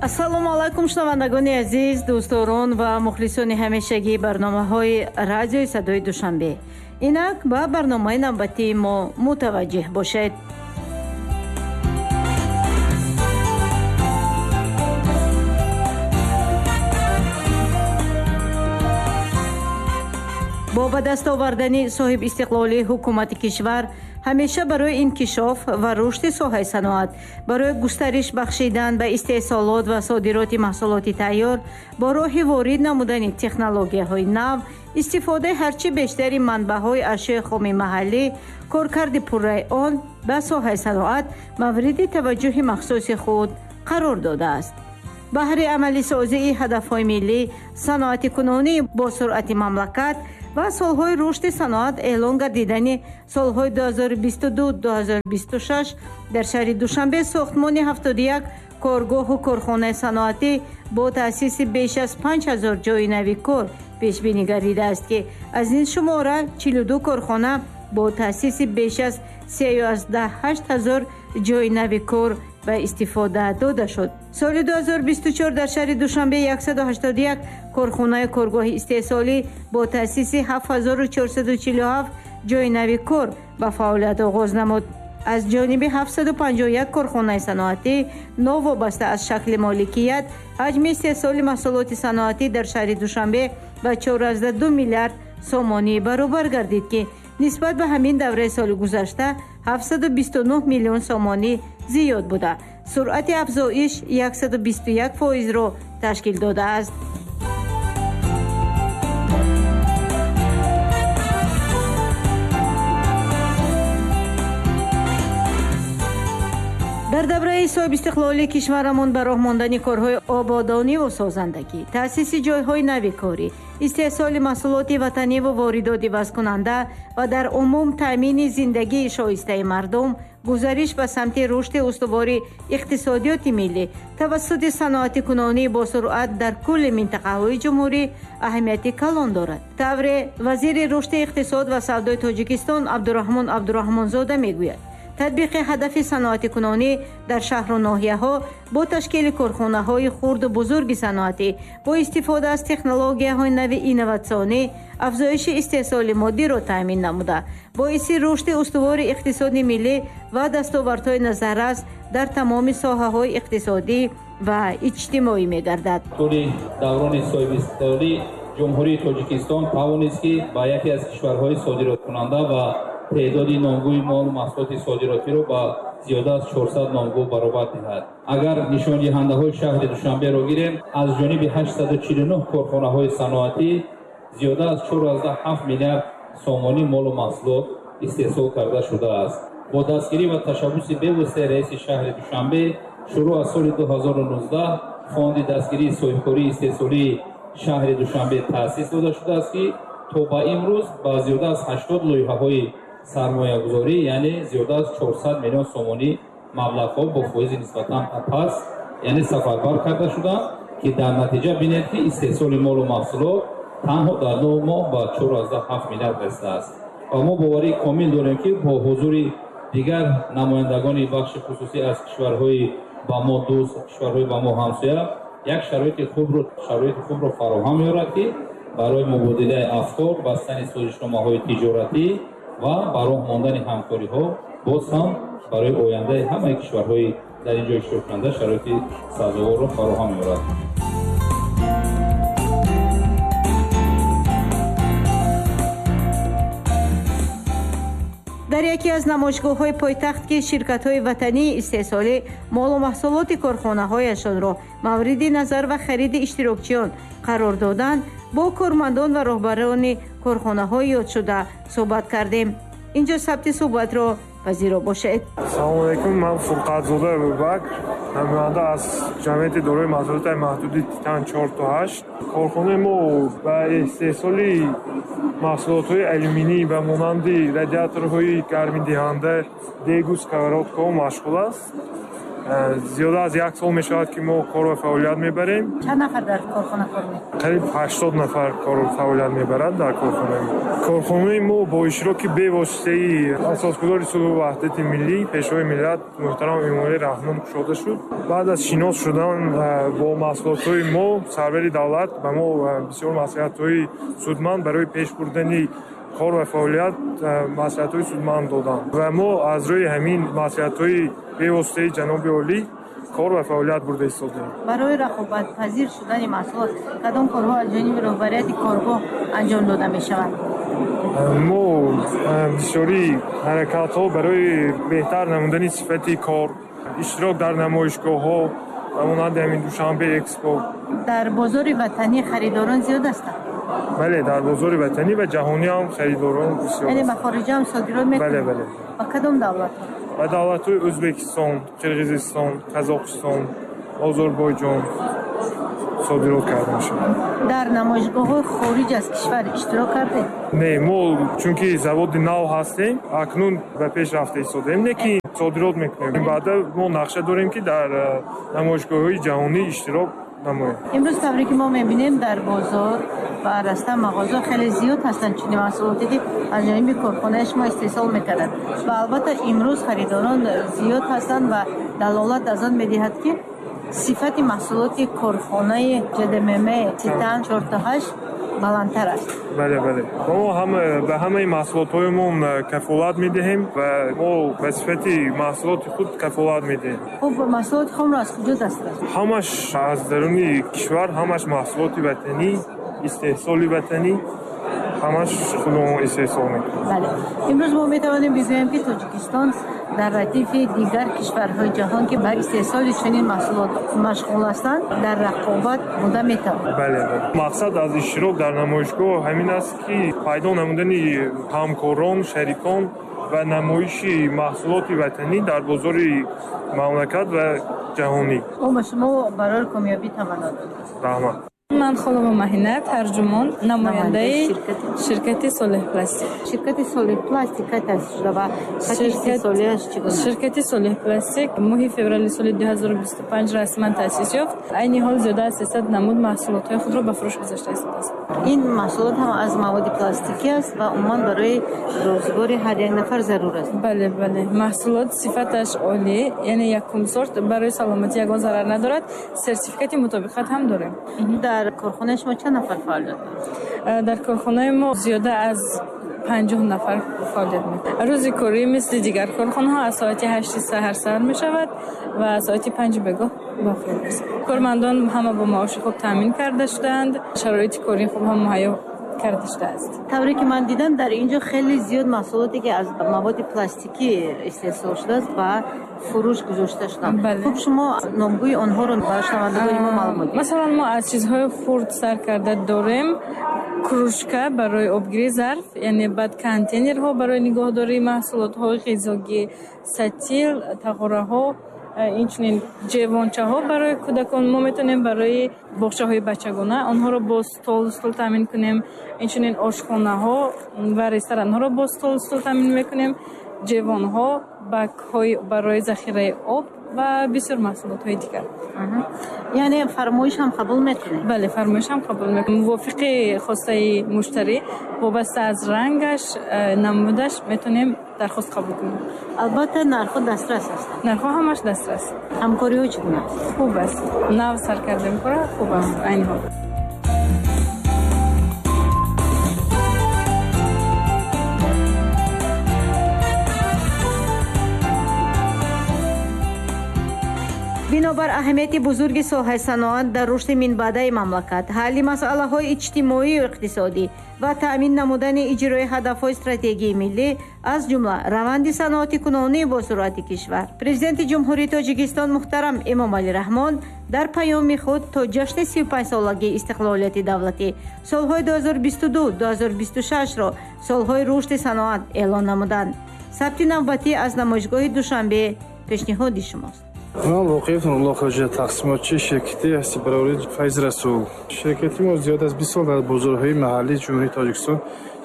Ассалому алайкум, шунавандагони азиз, дӯстдорон ва мухлисони ҳамешагии барномаҳои радиои садои Душанбе. Инак ба барномаи навбатии мо мутаваҷҷеҳ бошед. Бо ба даст овардани соҳибистиқлолии ҳукумати кишвар ҳамеша барои инкишоф ва рушди соҳаи саноат, барои густариш бахшидан ба истеҳсолот ва содироти маҳсулоти тайёр бо роҳи ворид намудани технологияҳои нав, истифодаи ҳарчи бештари манбаъҳои ашёи хоми маҳаллӣ, коркарди пурраи он ба соҳаи саноат мавриди таваҷҷӯҳи махсуси худ қарор додааст. Баҳри амалисозии ҳадафҳои миллӣ, саноатикунонӣ бо суръати мамлакат ва солҳои рушди саноат эълон гардидани солҳои 2022-2026 дар шаҳри Душанбе сохтмони 71 коргоҳу корхонаи саноатӣ бо таъсиси беш аз 5000 ҷойи нави кор пешбинӣ гардидааст, ки аз ин шумора 42 корхона бо таъсиси беш аз 3,8 ҳазор ҷойи нави кор ба истифода дода шуд. Соли 2024 дар шаҳри Душанбе 181 корхонаи коргоҳи истеҳсолӣ бо таъсиси 7447 ҷойи нави кор ба фаъолият оғоз намуд. Аз ҷониби 751 корхонаи саноатӣ новобаста аз шакли моликият, ҳаҷми истеҳсоли маҳсулоти саноатӣ дар шаҳри Душанбе ба 4,2 миллиард сомонӣ баробар гардид, ки нисбат ба ҳамин давраи соли гузашта 729 миллион сомонӣ зиёд буда, суръати афзоиш 121%-ро ташкил додааст. Дар давраи соҳибистиқлолии кишварамон ба роҳ мондани корҳои ободониву созандагӣ, таъсиси ҷойҳои нави корӣ, истеҳсоли маҳсулоти ватаниву воридоти вазкунанда ва дар умум таъмини зиндагии шоистаи мардум, гузариш ба самти рушди устувори иқтисодиёти миллӣ тавассути саноатикунонӣ бо суръат дар кулли минтақаҳои ҷумҳурӣ аҳамияти калон дорад. Тавре вазири рушди иқтисод ва савдои Тоҷикистон Абдураҳмон Абдураҳмонзода мегӯяд, татбиқи ҳадафи саноатикунонӣ дар шаҳру ноҳияҳо бо ташкили корхонаҳои хурду бузурги саноатӣ бо истифода аз технологияҳои нави инноватсионӣ афзоиши истеҳсоли моддиро таъмин намуда, боиси рушди устувори иқтисоди миллӣ ва дастовардҳои назаррас дар тамоми соҳаҳои иқтисодӣ ва иҷтимоӣ мегардад. Тӯли даврони соҳибистиқлолӣ Ҷумҳурии Тоҷикистон тавонист, ки ба яке аз кишварҳои содироткунанда ва теъдоди номгӯи молу маҳсулоти содиротиро ба зиёда аз 400 номгӯ баробар диҳад. Агар нишондиҳандаҳои шаҳри Душанберо гирем, аз ҷониби 849 корхонаҳои саноатӣ зиёда аз 4,7 миллиард сомонӣ молу маҳсулот истеҳсол карда шудааст. Бо дастгирӣ ва ташаббуси бевоситаи раиси шаҳри Душанбе шурӯъ аз соли 2019 фонди дастгирии соҳибкории истеҳсолии шаҳри Душанбе таъсис дода шудааст, ки то ба имрӯз ба зиёда аз 80 лоиҳаҳои сармоягузорӣ, яъне зиёда аз 400 миллион сомонӣ маблағҳо бо фоизи нисбатан паст, яъне сафарбар карда шуданд, ки дар натиҷа бинед, ки истеҳсоли молу маҳсулот танҳо дар 9 моҳ ба 4,7 миллиард расидааст. Ва мо боварии комил дорем, ки бо ҳузури дигар намояндагони бахши хусусӣ аз кишварҳои ба мо дӯст, кишварҳои ба мо ҳамсоя як шароити хубро фароҳам меорад, ки барои мубодилаи афкор, бастани созишномаҳои тиҷоратӣ ва ба роҳ мондани ҳамкориҳо боз ҳам барои ояндаи ҳамаи кишварҳои дар ин ҷо иштироккунанда шароити сазоворро фароҳам меорад. Дар яке аз намоишгоҳҳои пойтахт, ки ширкатҳои ватании истеҳсолӣ молу маҳсулоти корхонаҳояшонро мавриди назар ва хариди иштирокчиён қарор доданд, бо кормандон ва роҳбарони корхонаҳои ёдшуда суҳбат кардем. Инҷо сабти суҳбатро пазиро бошед. Салому алайкум, ман Фурқатзода Абубакр, намоянда аз ҷамъияти дорои масъулияти маҳдуди Титан 4-8. Корхонаи мо ба истеҳсоли маҳсулотҳои алюминӣ ба монанди радиаторҳои гармидиҳанда, дегу сковородкаҳо машғул аст. Зиёда аз як сол мешавад, ки мо кор ва фаъолият мебарем. Чанд нафар дар корхона кор мекунад? Қариб 80 нафар кор ва фаъолият мебарад дар корхонаи мо. Корхонаи мо бо иштироки бевоситаи асосгузори сулҳу ваҳдати миллӣ, Пешвои миллат муҳтарам Эмомалӣ Раҳмон кушода шуд. Баъд аз шинос шудан бо маҳсулотҳои мо, сарвари давлат ба мо бисёр маслиҳатҳои судманд барои пеш бурдани кор ва фаъолият маслиҳатҳои судманд доданд ва мо аз рӯи ҳамин маслиҳатҳои бевоситаи ҷаноби олӣ кор ва фаъолият бурда истодаем. Барои рақобатпазир шудани маҳсулот кадом корҳо аз ҷониби роҳбарияти коргоҳ анҷом дода мешаванд? Мо бисёри ҳаракатҳо барои беҳтар намудани сифати кор, иштирок дар намоишгоҳҳо ва монанди ҳамин Душанбе Экспо. Дар бозори ватанӣ харидорон зиёд ҳастанд? Бале, дар бозори ватанӣ ва ҷаҳонӣ ҳам харидорон бисёр. Яъне ба хориҷа ҳам содирот мекунанд? Бале, бале. Ба кадом давлатҳо? Ба давлатҳои Ӯзбекистон, Қирғизистон, Қазоқистон, Озарбойҷон содирот карда мешавад. Дар намоишгоҳҳои хориҷ аз кишвар иштирок кардед? Не, мо чунки заводи нав ҳастем, акнун ба пеш рафта истодаем, не ки содирот мекунем. Баъда мо нақша дорем, ки дар намоишгоҳҳои ҷаҳонӣ иштирок намоем. Имрӯз тавре ки мо мебинем, дар бозор ва раста мағоза хеле зиёд ҳастанд чунин маҳсулоте, ки аз ҷониби корхонаи шумо истеҳсол мекарданд ва албатта имрӯз харидорон зиёд ҳастанд ва далолат аз он медиҳад, ки сифати маҳсулоти корхонаи ЖДММ Титан 4-8 баландтар аст. Бале, бале. Мо ба ҳамаи маҳсулотҳоямон кафолат медиҳем ва мо ба сифати маҳсулоти худ кафолат медиҳем. Хуб, маҳсулоти хомро аз куҷо дастрас? Ҳамаш аз даруни кишвар, ҳамаш маҳсулоти ватанӣ, истеҳсоли ватанӣ, ҳамаш худамон истеҳсол мекунем. Бале. Имрӯз мо метавонем бигӯем, ки Тоҷикистон дар радифи дигар кишварҳои ҷаҳон, ки ба истеҳсоли чунин маҳсулот машғул ҳастанд, дар рақобат буда метавонад. Бале, бале. Мақсад аз иштирок дар намоишгоҳ ҳамин аст, ки пайдо намудани ҳамкорон, шарикон ва намоиши маҳсулоти ватанӣ дар бозори мамлакат ва ҷаҳонӣ. Мо ба шумо барои комёбӣ таманно дорем. Раҳмат. Ман Холова Маҳина, тарҷумон, намояндаи ширкати Солеҳ Пластик. Ширкати Солеҳ Пластик кай таъсис шуда ва хати истеҳсолияш чӣ гуна? Ширкати Солеҳ Пластик моҳи феврали соли 2025 расман таъсис ёфт. Айни ҳол зиёда аз 300 намуд маҳсулотҳои худро ба фурӯш гузошта истодааст. Ин маҳсулот ҳам аз маводи пластикӣ аст ва умуман барои рӯзгори ҳар як нафар зарур аст. Бале, бале. Маҳсулот сифаташ олӣ, яъне якум сорт, барои саломатӣ ягон зарар надорад. Сертификати мутобиқат ҳам дорем. Дар корхонаи шумо чанд нафар фаъолият дорад? Дар корхонаи мо зиёда аз 50 нафар фаъолият мекунад. Рӯзи корӣ мисли дигар корхонаҳо аз соати 8 саҳар сар мешавад ва соати 5 бегоҳ ба охир мерасад. Кормандон ҳама бо маоши хуб таъмин карда шудаанд, шароити кории хуб ҳам муҳайё карда шудааст. Тавре ки ман дидам, дар ин ҷо хеле зиёд маҳсулоте, ки аз маводи пластикӣ истеҳсол шудааст, ба фурӯш гузошта шуданд. Хуб, шумо номгӯи онҳоро ба шунавандагони мо маълум диҳед. Масалан, мо аз чизҳои хурд сар карда дорем кружка барои обгирии зарф, яъне баъд контейнерҳо барои нигоҳдории маҳсулотҳои ғизогӣ, сатил, тағораҳо, инчунин ҷевончаҳо барои кӯдакон. Мо метавонем барои боғчаҳои бачагона онҳоро бо стол таъмин кунем, инчунин ошхонаҳо ва ресторанҳоро бо стол таъмин мекунем, ҷевонҳо, бакҳои барои захираи об ва бисёр маҳсулотҳои дигар. Яъне фармоиш ҳам қабул мекунед? Бале, фармоиш ҳам қабул мекунем. Мувофиқи хостаи муштарӣ, вобаста аз рангаш, намудаш метавонем дархост қабул кунем. Албатта, нархҳо дастрас ҳастанд. Нархҳо ҳамаш дастрас. Ҳамкориҳо чӣ гуна аст? Хуб аст. Нав сар кардем кора, хуб аст айни ҳол. Бинобар аҳамияти бузурги соҳаи саноат дар рушди минбаъдаи мамлакат, ҳалли масъалаҳои иҷтимоию иқтисодӣ ва таъмин намудани иҷрои ҳадафҳои стратегии миллӣ, аз ҷумла раванди саноатикунонии босуръати кишвар, Президенти Ҷумҳурии Тоҷикистон муҳтарам Эмомалӣ Раҳмон дар паёми худ то ҷашни 35-солагии истиқлолияти давлатӣ солҳои 2022-2026-ро солҳои рушди саноат эълон намуданд. Сабти навбатӣ аз намоишгоҳи Душанбе пешниҳоди шумост. Ман Воқиев Нурулло Хоҷа, тақсимотчии ширкати ҳастибарории Файз Расул. Ширкати мо зиёд аз 20 сол дар бозорҳои маҳаллии Ҷумҳурии Тоҷикистон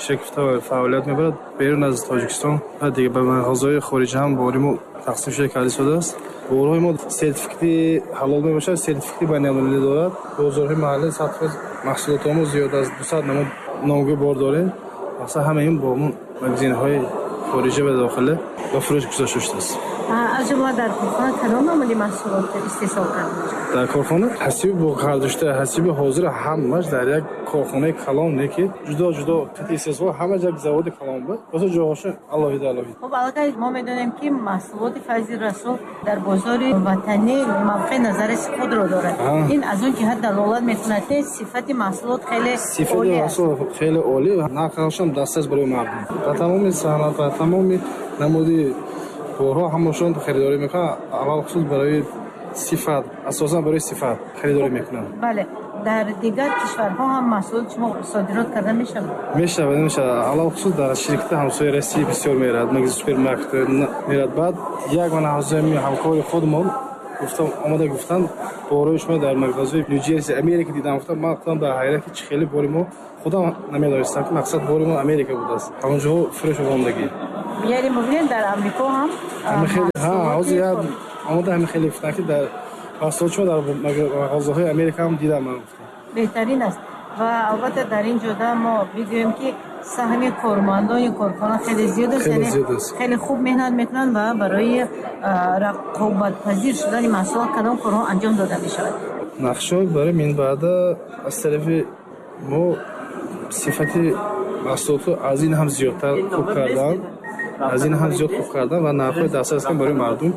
Ширкат фаъолият мебарад берун аз Тоҷикистон ва дигар ба мағозаҳои хориҷа ҳам бори мо тақсим шуда карда истодааст. Борҳои мо сертификати ҳалол мебошад, сертификати байналмилалӣ дорад. Бозорҳои маҳаллӣ 100% маҳсулотҳомо зиёд аз 200 намуд номгӯи бор дорем. Мақсад ҳамаи ин бо магазинҳои хориҷа ва дохила ба фурӯш гузошта шудааст. Аз ҷумла дар корхона кадом намуди маҳсулот истеҳсол карда мешавад? Дар корхона ҳасиби бо кардашуда, ҳасиби ҳозир ҳамаш дар як корхонаи калон не ки ҷудо ҷудо истеҳсол, ҳамаш як заводи калон буд. Боз ҷоҳошон алоҳида алоҳида. Хуб, аллакай мо медонем ки маҳсулоти Файзи Расул дар бозори ватанӣ мавқеи назаррас худро дорад. Ин аз он ҷиҳат далолат мекунад ки сифати маҳсулот хеле сифати маҳсулот хеле олӣ, нархашам дастрас барои мардум. Ба тамоми саноат ва тамоми намуди борҳо ҳамашон харидорӣ мекунанд, аввал хусус барои сифат, асосан барои сифат харидорӣ мекунанд. Бале, дар дигар кишварҳо ҳам маҳсулот шумо содирот карда мешавад? Мешавад, мешавад. Аввал хусус дар ширкати ҳамсояи Россия бисёр меравад, магазин супермаркет меравад. Баъд як мана ҳамкори худмон гуфтам, омада гуфтанд, борҳои шумо дар мағозаи Нью-Джерси, Америка дидам, гуфтам, ман худам дар ҳайрат ки чӣ хеле бори мо худам намедонистам ки мақсад бори мо Америка будааст. Ҳамонҷо фурӯш омадагӣ. Яъне мебинед дар Амрико ҳам омода ҳамин хеле гуфтанд ки дар маҳсулоти шумо дар мағозаҳои Америка ҳам дидам ман гуфтам. Беҳтарин аст ва албатта дар ин ҷода мо бигӯем ки саҳми кормандони корхона хеле зиёд аст, яъне хеле хуб меҳнат мекунанд ва барои рақобатпазир шудани маҳсулот кадом корҳо анҷом дода мешавад? Нақшаҳо барои минбаъда аз тарафи мо сифати маҳсулотро аз ин ҳам зиёдтар хуб кардан, аз ин ҳам зиёд хуб кардан ва нархҳои дастрас барои мардум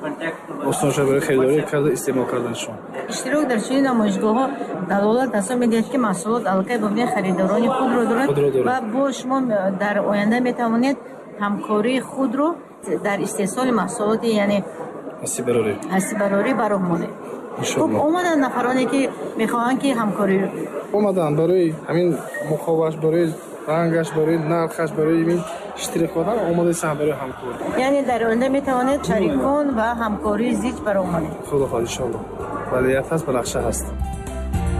осон шуда барои харидорӣ карда истеъмол карданашон. Иштирок дар чунин намоишгоҳҳо далолат аз он медиҳад ки маҳсулот аллакай бубинед харидорони худро дорад ва бо шумо дар оянда метавонед ҳамкории худро дар истеҳсоли маҳсулоти яъне ҳасибарорӣ ба роҳ монед. Хуб, омаданд нафароне ки мехоҳанд ки ҳамкорӣ омаданд барои ҳамин муқоваш, барои рангаш, барои нархаш, барои ин штрихкодҳо омодаанд барои ҳамкорӣ. Яъне дар оянда метавонед шарикон ва ҳамкории зич ба роҳ монед. Худо хоҳад иншоаллоҳ. Валият ҳаст, ба нақша ҳаст.